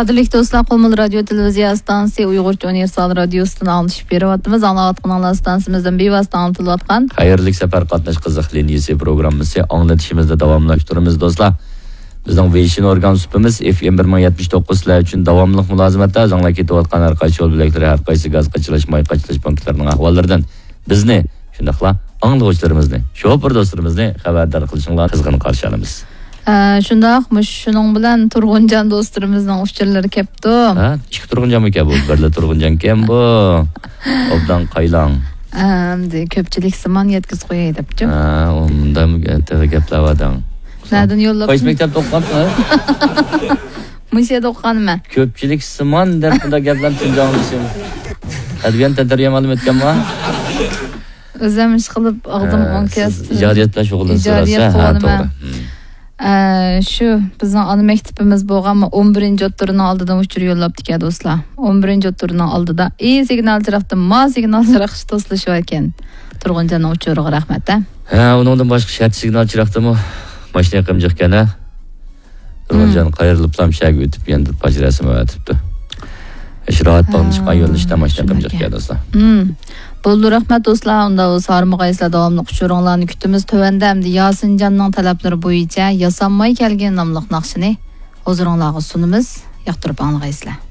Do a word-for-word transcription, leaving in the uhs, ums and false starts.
قەدىرلىك دوستلار، قۇمۇل رادىيو تېلېۋىزىيە ئىستانسىسى ئۇيغۇرچە ئۇنىۋېرسال رادىيوسىدىن ئاڭلىتىپ بېرىۋاتىمىز. ئاڭلاۋاتقىنىڭلار ئىستانسىمىزدىن بىۋاسىتە ئاڭلىتىلىۋاتقان خەيرلىك سەپەر قاتناش قىزىق لىنىيىسى پروگراممىسى. ئاڭلىتىشىمىزنى داۋاملاشتۇرىمىز دوستلار. بىزنىڭ ۋېيشىن ئورگان سۇپىمىز ئېف ئېم بىر مىڭ يەتمىش توققۇز سىلەر ئۈچۈن داۋاملىق مۇلازىمەتتە. ئىزاڭلار كېتىۋاتقان ھەر قايسى يول بۆلەكلىرى، ھەر قايسى گاز قاچىلاش، ماي قاچىلاش پونكىتلىرىنىڭ ئەھۋاللىرىدىن بىزنى، شۇنداقلا ئاڭلىغۇچىلىرىمىزنى، شوپۇر دوستلىرىمىزنى خەۋەردار قىلىشىڭلارنى قىزغىن قارشى ئالىمىز. ئە، شۇنداق، مۇشۇ شۇنىڭ بىلەن تۇرغۇنجان دوستلىرىمىزنىڭ ئۇچۇرلىرى كەپتۇ. ھە؟ ئىككى تۇرغۇنجانمىكەن بۇ؟ بىرلا تۇرغۇنجانكەن بۇ. ئوبدان قايلاڭ. ئە، ئەمدى كۆپچىلىك سىمان يەتكۈزۈپ قوياي دەپچۇ. ھە، ئۇنداق تېخى گەپلەۋاتىڭ. نەدىن يوللاپ؟ قايسى مەكتەپتە ئوقۇغانسىز؟ مۇشۇ يەردە ئوقۇغانمەن. كۆپچىلىك سىمان دەپ بۇنداق گەپلەرنى تۇنجى ئاڭلىشىم. ئەدەبىيات تەنتەربىيە مۇئەللىمى ئۆتكەنما؟ ئۆزۈم ئىش قىلىپ ئاغزىم ھە، ئوڭ سىز كەستى. ئىجادىيەت بىلەن شۇغۇللىنىسىز، ئىجادىيەت ھە، ھە، قىلىمەن. توغرا. ھىم. ئە، شۇ بىزنىڭ ئانا مەكتىپىمىز بولغانمۇ، ئون بىرىنچى ئوتتۇرىنىڭ ئالدىدىن ئۇچۇر يوللاپتىكەن دوستلار. ئون بىرىنچى ئوتتۇرىنىڭ ئالدىدا ئى سىگنال چىراغدىن ما سىگنال چىراغ توسۇلۇشىۋەركەن. تۇرغۇنجاننىڭ ئۇچۇرىغا رەھمەت ھە. ھە، ئۇنىڭدىن باشقا شەرت سىگنال چىراغدىمۇ ماشىنا يېقىمجىقكەن ھە. تۇرغۇنجان قايرىلىپلا شەگە ئۆتۈپ يەنە پاچ رەسىم ئەۋەتىپتۇ. ئىش راھەت باغلىنىشقا يۆنىلىشتە ماشىنا يېقىمجىقكەن دوستلار. ھىم. بولدى، رەھمەت دوستلار. ئۇنداق بولسا ھارمىغايسىلەر، داۋاملىق ئۇچۇرۇڭلارنى كۈتىمىز. تۆۋەندە ئەمدى ياسىنجاننىڭ تەلەپلىرى بويىچە ياسانماي كەلگىن ناملىق ناخشىنى ھۇزۇرۇڭلارغا سۇنىمىز. ياقتۇرۇپ ئاڭلىغايسىلەر.